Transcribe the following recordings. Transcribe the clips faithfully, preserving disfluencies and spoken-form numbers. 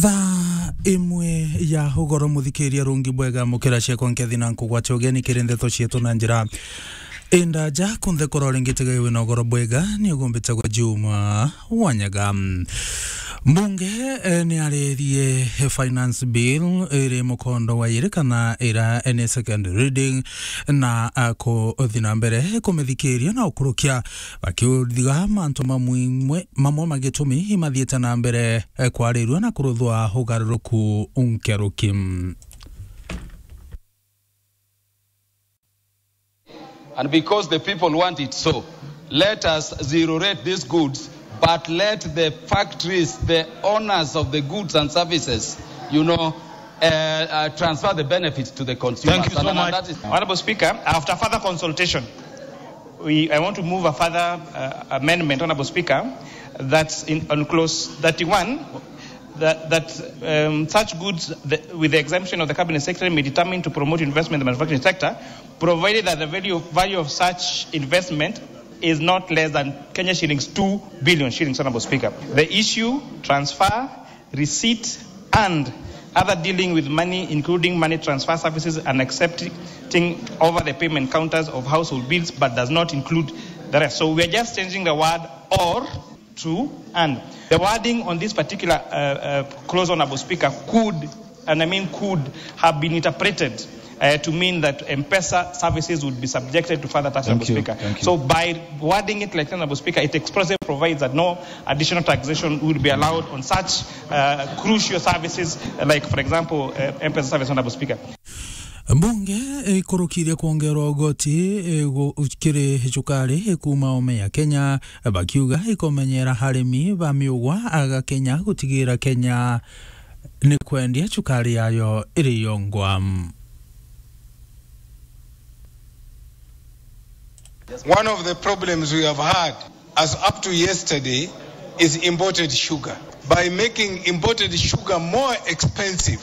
Thaa imwe ya ugoro, muthikiria rungi bwega, mukira ciakwa nkethi na nkugwate ugeni kiri ndeto cietu na njira indaja. Kunthe kora uringitega wina ugoro bwega, ni ugumbite gwa Juma Wanyaga. Mbunge, eh, ni arerie finance bill iri mukondo wa iri kana ira ni second reading, na, ah, kuthi na mbere kumithikiria na ukurukia, bakiuthiga mantu mamwe mamwe ma gitumi imathiite na mbere, eh, kwarirua na kuruthwa ugaruruku nkeruki. And because the people want it so, let us zero rate these goods, but let the factories, the owners of the goods and services, you know, uh, uh, transfer the benefits to the consumers. Thank you so much. And that is Honorable Speaker, after further consultation, we, I want to move a further, uh, amendment, Honorable Speaker, that's in, on clause thirty-one, that, that, um, such goods, the, with the exemption of the Cabinet Secretary, may determine to promote investment in the manufacturing sector, provided that the value, value of such investment is not less than Kenya shillings two billion shillings, Honorable Speaker. The issue, transfer, receipt, and other dealing with money, including money transfer services and accepting over the payment counters of household bills, but does not include the rest. So we are just changing the word "or" to "and". The wording on this particular, uh, uh, clause, Honorable Speaker, could, and I mean could, have been interpreted, uh, to mean that M-Pesa services would be subjected to further tax, Honorable Speaker. Thank you. So by wording it like that, Honorable Speaker, it expressly provides that no additional taxation will be allowed on such, uh, crucial services, uh, like, for example, uh, M-Pesa service, Honorable Speaker. Mbunge ikurukirie kwongerwa ugoti, eh, gu-, kiri cukari, eh, kuuma ome ya Kenya, bakiuga ikomenyera arimi ba miugwa aga Kenya gutigira Kenya ni kwendia cukari yayo iri yongwa. One of the problems we have had as up to yesterday is imported sugar. By making imported sugar more expensive,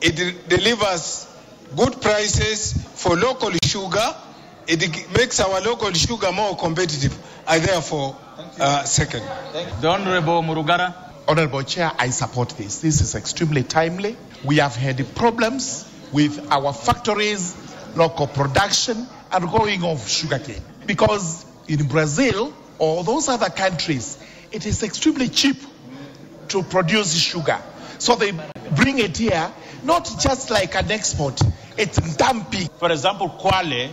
it de-, delivers good prices for local sugar. It g-, makes our local sugar more competitive. I therefore, uh, second. The Honorable Murugara. Honorable Chair, I support this. This is extremely timely. We have had problems with our factories, local production, and going off sugarcane. Because in Brazil or those other countries, it is extremely cheap to produce sugar. So they bring it here, not just like an export, it's dumping. For example, Kwale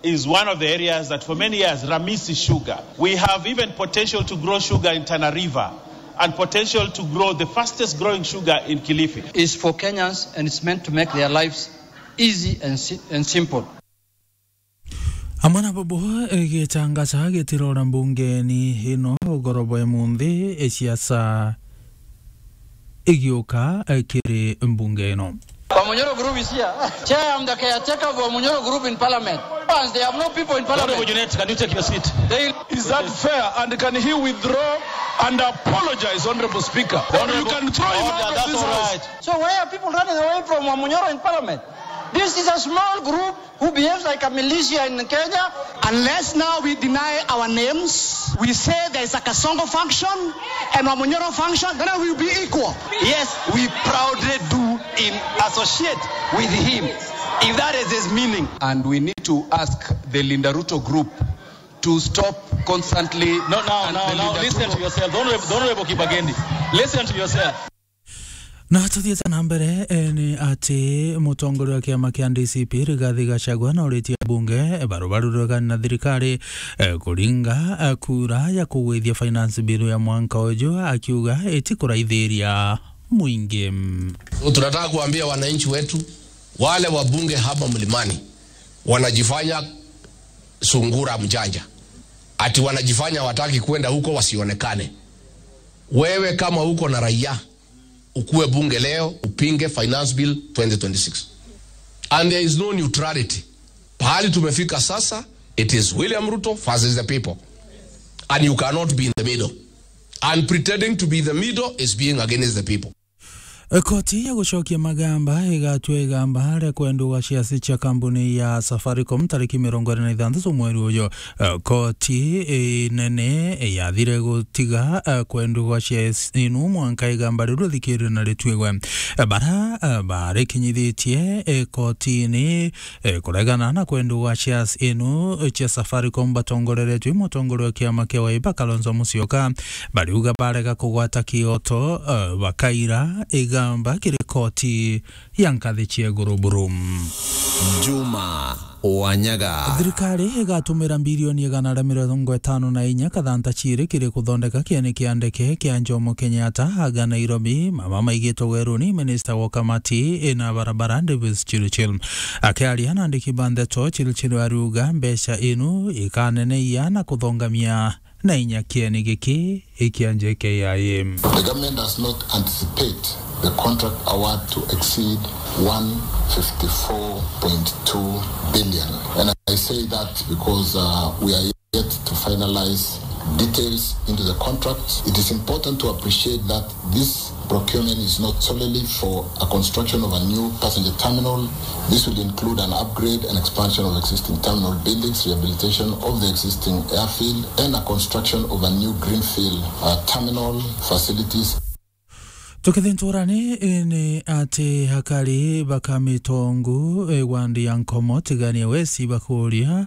is one of the areas that for many years, Ramisi sugar. We have even potential to grow sugar in Tana River and potential to grow the fastest growing sugar in Kilifi. Is for Kenyans and it's meant to make their lives easy and si-, and simple. Amwe na bobo, eh, gicangasa gitirora mbungeni ino ugoro bwa imunthi, eh, siasa igiuka, eh, kiri mbunge ino. Wamunyoro Group is here. Chair, I'm the caretaker of Wamunyoro Group in Parliament. Once they have no people in Parliament. Honorable Junet, can you take your seat? They Is that fair? And can he withdraw and apologize, Honorable Speaker? Or you can throw him out of this house. So why are people running away from Wamunyoro in Parliament? This is a small group who behaves like a militia in Kenya. Unless now we deny our names, we say there is a Kasongo function and Wamunyoro function, then we will be equal. Yes, we proudly do in associate with him, if that is his meaning. And we need to ask the Linda Ruto group to stop constantly. No, now, and now, the now, leader listen to yourself. The Honorable, the Honorable Kibageni, listen to yourself. Na tuthiite na mbere, eh, ni ati mutongoria wa kiama kia D C P Rigathi Gachagua na uritie bunge, eh, barubaru rwegani na thirikari, eh, kuringa, eh, kura ya kugwithia finance bill ya mwanka uju, akiuga itikuraithiria mwingi. So tunataka kuambia wananchi wetu, wale wabunge hapa Mlimani wanajifanya sungura mjanja. Ati wanajifanya wataki kwenda huko wasionekane. Wewe kama uko na raia, ukue bunge leo, upinge Finance Bill twenty twenty-six. And there is no neutrality. Pahali tumefika sasa, it is William Ruto versus the people. And you cannot be in the middle. And pretending to be the middle is being against the people. Koti ya gucokia magamba igatua igamba ria kwendua shares cia kambuni ya Safaricom tariki mirongo iri na ithanthatu mweri uyu. Eh, koti inene yathire gutiga, eh, kwendua shares inu mwanka igamba riu rithikirwe na rituigwe. Eh, bara, eh, barikinyithitie, eh, kotini, eh, kuregana na kwendua shares inu cia Safaricom batongoreretwe i mutongoria wa kiama kia Wiper Kalonzo Musyoka, bariuga barega kugwata kioto, eh, bakaira igamba kiri koti ya nkathi cia iguru buru. Juma Wanyaga. Thirikari igatumira mbirioni igana ria mirongo itano na inya kathanta ciiri kiri kuthondeka kieni kia ndeke kia Jomo Kenyatta aga Nairobi, mama maigitwe weruni minista wa kamati ina barabara Davis Chirchir. Akiaria na andiki ba ndeto, Chirchir ariuga mbeca inu ikaneneia na kuthongamia na inya kieni giki ikia J K I A. The government does not anticipate the contract award to exceed one fifty-four point two billion. And I say that because, uh, we are yet to finalize details into the contract. It is important to appreciate that this procurement is not solely for a construction of a new passenger terminal. This will include an upgrade and expansion of existing terminal buildings, rehabilitation of the existing airfield, and a construction of a new greenfield, uh, terminal facilities. Tukithintura ni, ni ati akari ba Kamitongu, eh, wandi ya Nkomo, Tigania West bakuria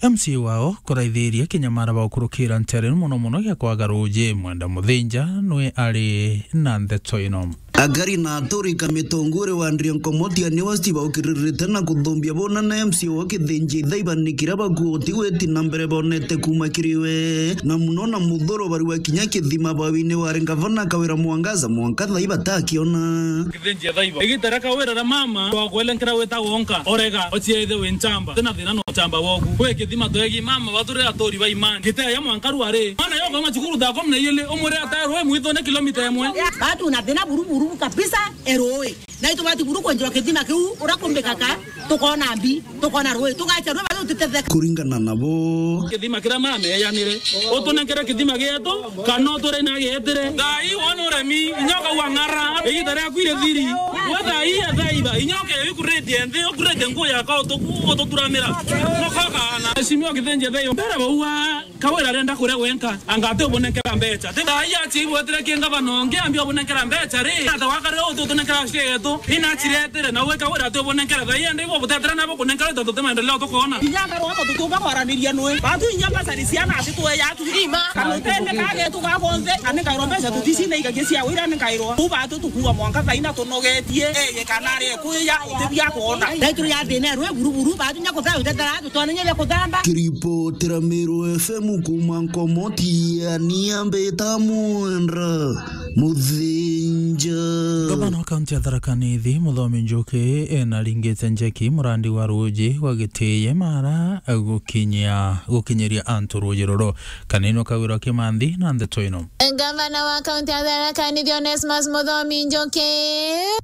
M C A wao kuraithiria kinyamara ba gukurukira ntere, mono mono gia kwaga ruuji. Mwenda Muthinja nwe ari na ndeto ino. Akari na aturi Kamitongu uri wandi ya Nkomo, Tigania West baukiririte na kuthumbia bona na M C A wao Kithinji Ithaiba ni kiria bakuoti gwiti na mbere bonete kuuma kiri we, na mono na muthuro bari wa kinya kithima bawine wari ngavana Kawira Mwangaza mwanka thaa ii batakiona. Kithinji Ithaiba. Igita ria Kawira ria mama, twakwelenkera wita wonka, orega, ociaithe wi nchamba, tina thina no nchamba woku. Kwi kithima twegi mama, baturi aturi ba imani. Giteya mwanka rwari. Mwana yo koma cukuru thaa kumi na iili, umwire atae rui mwithune kilomita imwe. Batu na thina buru buru kabisa, e rui. Na itubati buru kwenjwa kithima kiu, ura kumbikaka, tukona mbi, tukona rui, tugacha rui, batu tutetheka. Kuringana nabo. Kithima kiria mama eyanire. Utunenkere kithima gietu, kana uture na gietire. Thaa ii wona uremi, inya ukauga ng'ara, igita riaku iri thiri. We thaa ii ethaitha, inya ukeya ukurite nthi, ukurite nguo yako, utuku-, ututuramira. Nokokana. Mheshimiwa Kithinji Ithaiba, mbere bauga, Kawira arenda kuria gwenka, anga ati ubunenkera mbecha. Ti thaa ii achi ibwetire ki ngavana ungi, ambi ubunenkera mbecha ri, ata wakarire uti utunenkera share yetu, ina achiretire, na we Kawira ati ubunenkera thaa ii, ende ibo butetera nabo kunenkera ita tuti maendeleo tukona. Inya ngarwa aba tutumba kwaraniria nwe. Batu inya mbasari ciana ati tueya atu. Ima. Kana utende kage tugakonthe, ani kairo mbecha tutisi na igagia cia wira ni kairo. Uba atu tukuga mwanka thaa ina tunogetie. Eye kana ari kuya, uti bia kuona. Thaituru ya thina rwe buru buru, batu nya kutha utetera, tutone nya bia kuthamba. Kiripotera Meru F M kuma Nkomo, Tigania mbita Mwenda Muthinja. Gavana wa kaunti ya Tharaka Nithi, Muthomi Njuki, e, naringite njeki murandi wa ruuji gwa Gitiye Mara gukinyia, gukinyiria antu ruuji ruru. Kanini Kawira Kimanthi na ndeto ino. Gavana wa kaunti ya Tharaka Nithi, Onesmus Muthomi Njuki,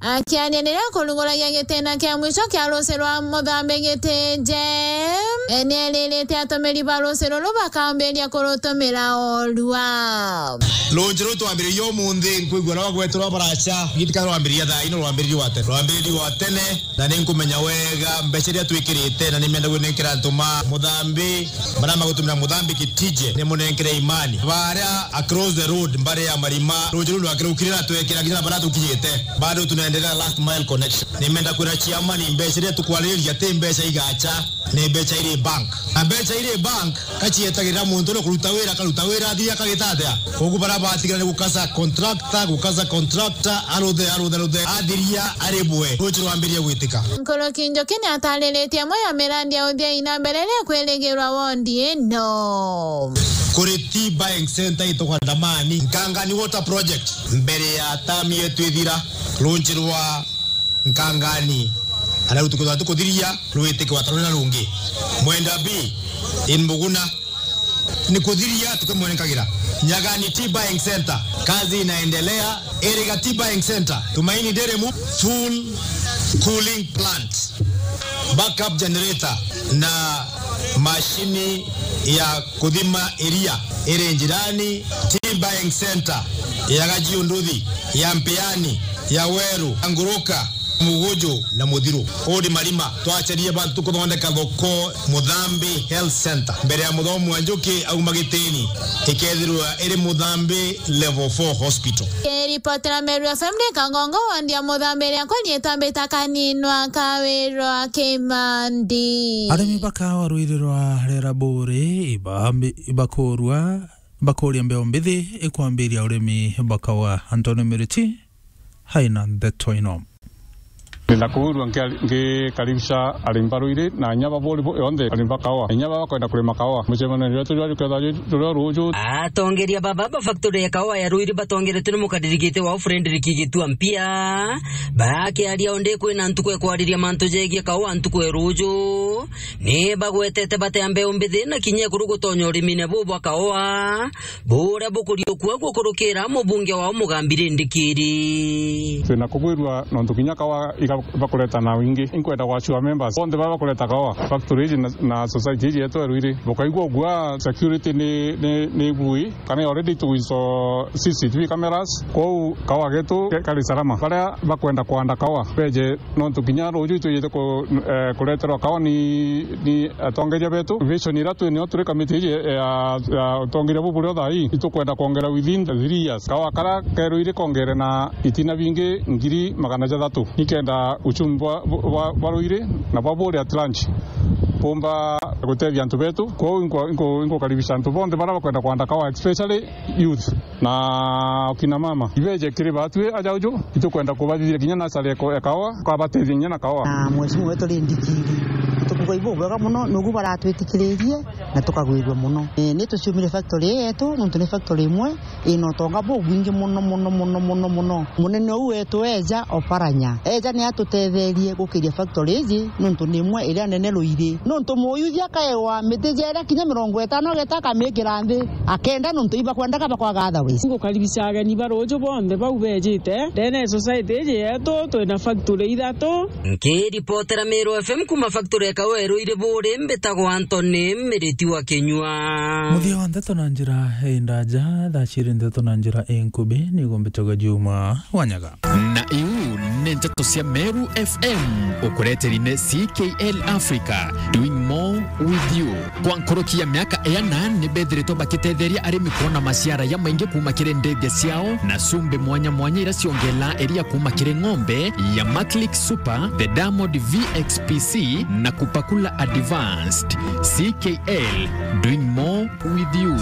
akiaria niria kurunguragia gitena kia mwisho kia ruuji rwa Muthambi Gitije, e, nieririte atumiri ba ruuji ruru bakambiria kurutumira orua. Ruuji ruru twambiririe umunthi, nkwigua rwa gweterwa baracha, giti ka rwambiririe thaa ino, rwambiririe wa tene. Rwambiririe wa tene, na ni nkumenya wega mbecha iria twikirite, na ni menda gwinenkera antu ma Muthambi, baria magutumira Muthambi Gitije, ni munenkere imani. Baria across the road, mbari ya Marima, ruuji ruru rwakirukire na twekira nginya na baria tukinyite. Bado tunaendelea last mile connection. Ni menda kwira chairman, mbecha iria tukwariria ti mbecha igacha, ni mbecha iri bank. Na mbecha iri bank, kacietagirira muntu uria kuruta wira, akaruta wira, athiria akagita atia? Koguo baria batigara ni gukasa contractor, gukasa contractor, aruthe, aruthe, aruthe, athiria aribwe, ruuji rwambiria gwitika. Nkuruki Njuki ni atariritie imwe ya mirandi ya uthii na mbere iria ikwirigirwa wondi ino. Kuri tea buying center itagwa Ndamani, Nkangani Water Project, mbere ya term yetu ithira, ruuji rwa Nkangani, ana riu tukithwa tukuthiria, rwitike watarwe na rungi. Mwenda B in Muguna, ni kuthiria tukimwenenkagira. Nyagani Tea Buying Center, kazi inaendelea. Iriga Tea Buying Center, Tumaini Dairy Mu-, full cooling plant, backup generator na mashini ya kuthima iria iri njirani. Tea Buying Center ya Gajiu Nduthi, ya Mpiani, ya Weru, Nguruka, Muguju na Muthiru. Uu ni Marima, twacerie bantu kuthondeka thoko Muthambi Health Center, mbere ya Muthomi wa Njuki auma gitini, ikethirwa iri Muthambi Level four Hospital. Kiripotera Meru F M ni Kangongo, wandi ya Muthambi, iria nkonyetwa mbita Kaninwa Kawirwa Kimandi. Arimi ba kawa rwiri rwa Rera Buri iba-, ibakurua, bakuria mbeo mbithi ikwambiria urimi ba kawa. Anthony Miriti haina ndeto ino. Ndenda kuurua nkia-, ngikaribisha arimi ba rwiri na inya ba buri bu-, yonthe arimi ba kawa. Inya baba bakwenda kurima kawa. Mucemanio wetu jwa juketha ju-, juria ruju. Atongeria baba ba factory ya kawa ya rwiri batongeretwe ni mukaririgite wao Frederick Gitua Mpia. Bakiaria onde kwina ntuku ya kwariria mantu jegie kawa ntuku ya ruju. Ni bagwetete batea mbeu mbithi na kinya ekuru gutonya urimine bu bwa kawa, buria bukuriukua gukurukira mubunge wao Mugambi Rindikiri. Twina kugwirua nontu kinya kawa iga bakureta na wingi. Inkwenda gwacua members bonthe baba bakureta kawa, factory iji na, na society iji yetu ya rwiri. Bukaigua ugua security ni, ni, ni bui, kana already twiso C C T V cameras, kwou kawa getu ke-, kari salama. Baria bakwenda kwanda kawa, beje nontu kinya ruju itwijite ku-, eh, kureterwa kawa ni, ni atongeria betu. Vision iria twi nio turi kamiti iji ya, ya utongeria bu burio thaa ii, itukwenda kwongera within three years. Kawa karia kerwiri kongere na itina bingi ngiri magana jathatu, nikenda uchumi bwa, bwa, bwa rwiri na bwa buri at large bumba gutethia antu betu. Kwou inko-, inko-, inkukaribisha antu bonthe baria bakwenda kwanda kawa, especially youth. Na akina mama, ibeje kiri batwi aja uju, itukwenda kubathithia kinya nasari ya ko-, ya kawa, ukabatethia kinya na kawa. Na mheshimiwa wetu Rindikiri, tukuga ibubwega muno, nugu baratwitikiririe na tukagwirua muno. E, ni tuciumire factory ii yetu, nontu ni factory imwe ina utonga bubwingi muno, muno, muno, muno, muno. Munene uu wetu eja Oparanya, eja ni atutetherie gukiria factory iji, nontu ni imwe iria nene ruiri. Nontu muyuthi akaewa miti jeria kinya mirongo itano ageta akamikira nthi, akenda nontu ibakwendaga bakwaga otherwise. Ngukaribisha ageni ba ruju bonthe bau bejite ndene ya society iji yetu, twina factory ithatu. Nkiripotera Meru F M kuma factory ya kawa ya rwiri buri, mbitagwa Anthony Miriti wa Kinyua. Muthia wa ndeto na njira indaja, thaa ciiri ndeto na njira inkubi, niguo mbitagwa Juma Wanyaga. Na iu ni nteto cia Meru F M, ukureteri ni C K L Africa, doing more with you. Kwa nkuruki ya miaka iana, ni bethiritwe bakitetheria arimi kwona maciara ya maingi kuma kiri ndithia ciao na cumbi mwanya mwanya iria ciongelaa iria kuma kiri ng'ombe ya Maclick Super, the Diamond V X P C na Kupakula Advanced. C K L, doing more with you.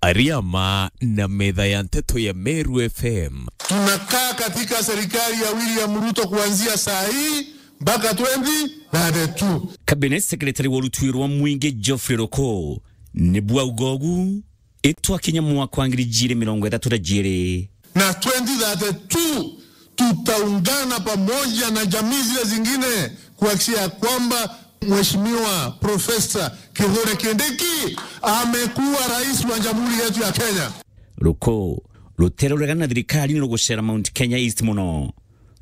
Ariama na metha ya nteto ya Meru F M. Tunakaa katika serikali ya William Ruto kuanzia saa hii mpaka twenty thirty-two. Cabinet Secretary wa rutwi rwa mwingi Geoffrey Ruku ni bwauga ugu, itwakinya mwaka wa ngiri ijiri mirongo ithatu na jiri. Na twenty thirty-two tutaungana pamoja na jamii zile zingine kuhakikisha ya kwamba Mheshimiwa Profesa Kithure Kindiki amekuwa rais wa Jamhuri yetu ya Kenya. Ruku ruteruregana na thirikari ni rugucera Mount Kenya East muno.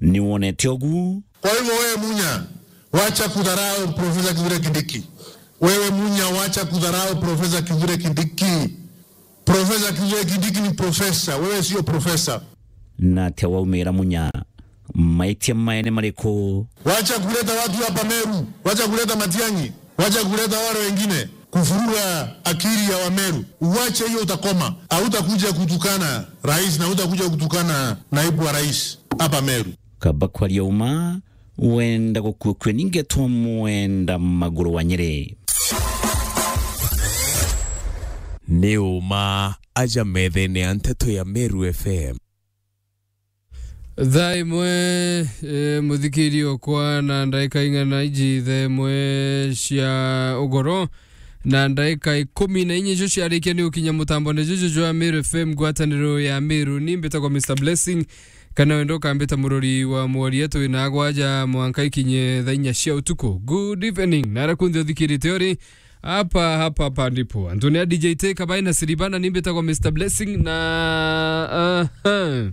Ni wonete ugu? Kwa hivyo wewe Munya, wacha kudharau Profesa Kithure Kindiki. Wewe Munya, wacha kudharau Profesa Kithure Kindiki. Profesa Kithure Kindiki ni profesa, wewe sio profesa. Na atia waumira Munya? Maitia maene mariku? Wacha kuleta watu hapa Meru, wacha kuleta Matiang'i, wacha kuleta wale wengine kufuruga akili ya Wameru. Uwache hiyo, utakoma. Hautakuja kutukana rais na hautakuja kutukana naibu wa rais hapa Meru. Kaba kwaria uma, wenda gukuukua ningetwa mwenda maguru wa Nyeri. Ni uma aja methene ya nteto ya Meru F M. Thaa imwe, eh, muthikiri okwa na ndaika ing'ana iji thaa imwe cia ugoro na ndaika ikumi na inya icio ciarikia ni gukinya mutambone juju jwa Meru F M, ngwataniro ya Meru. Ni mbitagwa Mister Blessing, kana wenda ukambita murori wa mworia. Twina agwaja mwanka ikinye thaa inya cia utuku. Good evening. Nara kunthe uthikirite uri, Hapa, hapa, hapa ndipo. Antonia D J T, Kabai na Siribana, nimbitagwa Mister Blessing na, aha.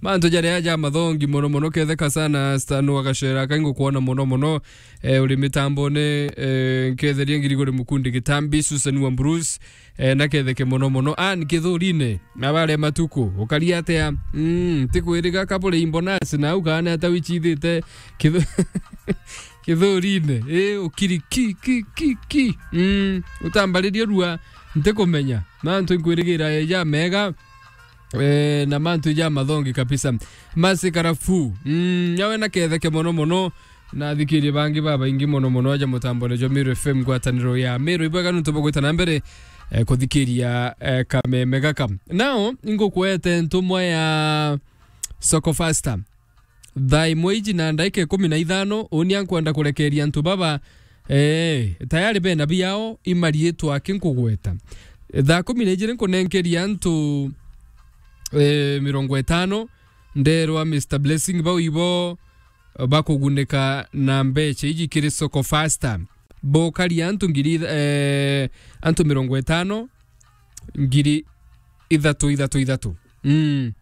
Mantu jaria ja mathongi mono mono, ketheka sana, Stan wa Gacera, kaingo kuona mono mono. Eh, uri mitambone, eh, nketheria Ngirigori Mukundi Gitambi, Susan wa Bruce, eh, na ketheke mono mono. Ann Kithurine, na bare matuku, ukari atia? Mm, tikwiriga kabure imbonasi, na ukane ata wichithite Kithu-, Kithurine. Eh, ukiri ki, ki, ki, ki. Mm, utambaririe rua, ntikumenya. Mantu nkwirigira eja mega, eh, na mantu ja mathongi kabisa. Masi Karafu. Mm, yawe na ketheke mono mono. Na athikirie bangi babaingi mono mono aja mutambone jwa Meru F M, ngwataniro ya Meru. Ibwega nuntu bwa gwita na mbere, eh, kuthikiria, eh, kameme gaka. Nao, ingukwete ntumwa ya Soko Fasta. Thaa imwe iji na ndaika ikumi na ithano, uni ankwenda kurekeria antu baba, eh, tayari bena biao, imariitwa aki nkugweta. Thaa kumi na ijiri nkunenkeria antu, eh, mirongo itano, nderwa Mister Blessing, bau ibo bakugunika na mbecha iji kiri Soko Fasta. Bokaria antu ngiri, eh, antu mirongo itano, ngiri ithatu, ithatu, ithatu. Mm.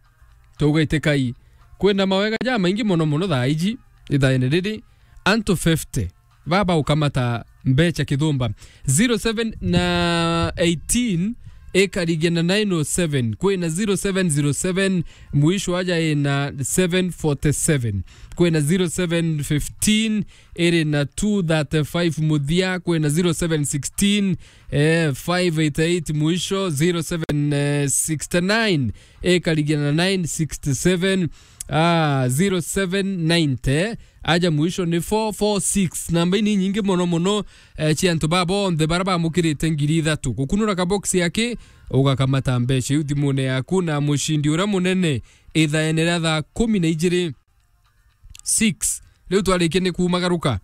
Tugaitikai. Kwina mawega jamaingi mono mono thaa iji, ithaene riri, antu fifty baba ukamata mbecha kithumba. Zero seven na eighteen ikarigia na nine oh seven. Kwina zero seven zero seven, mwisho aja ina seven forty-seven. Kwina zero seven fifteen iri na two thirty-five muthia. Kwina zero seven sixteen, eh, five eighty-eight mwisho, zero seven sixty-nine ikarigia na nine sixty-seven, ah, zero seven ninety, aja mwisho ni four four six. Namba ini nyingi mono mono, eh, cia antu baba bonthe bara bamukirite ngiri ithatu. Gukunura kaboksi yake, ugakamata mbecha iu thimune yaku, na mucindi uria munene ithaene ria thaa kumi na ijiri, six. Riu twarikia ni kumagaruka.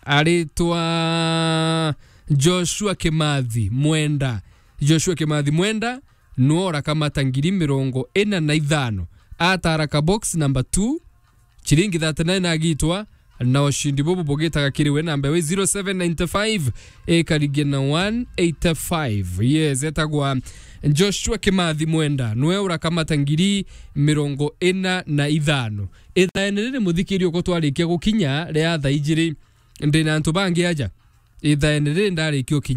Aritwa Joshua Kimathi Mwenda. Joshua Kimathi Mwenda nuwe urakamata ngiri mirongo ina na ithano. Atara ka box number two, chiringi thirty-nine agitwa, na ushindi bubu bugitaga kiri we, namba we zero seven nine five ikarigia na one eighty-five. Yes, etagwa Joshua Kimathi Mwenda, nuwe urakamata ngiri mirongo ina na ithano. Ithaene riri, muthikiri, uko twarikia gukinya ria thaa ijiri, ndina antu bangi aja. Ithaene riri ndarikia ukinya.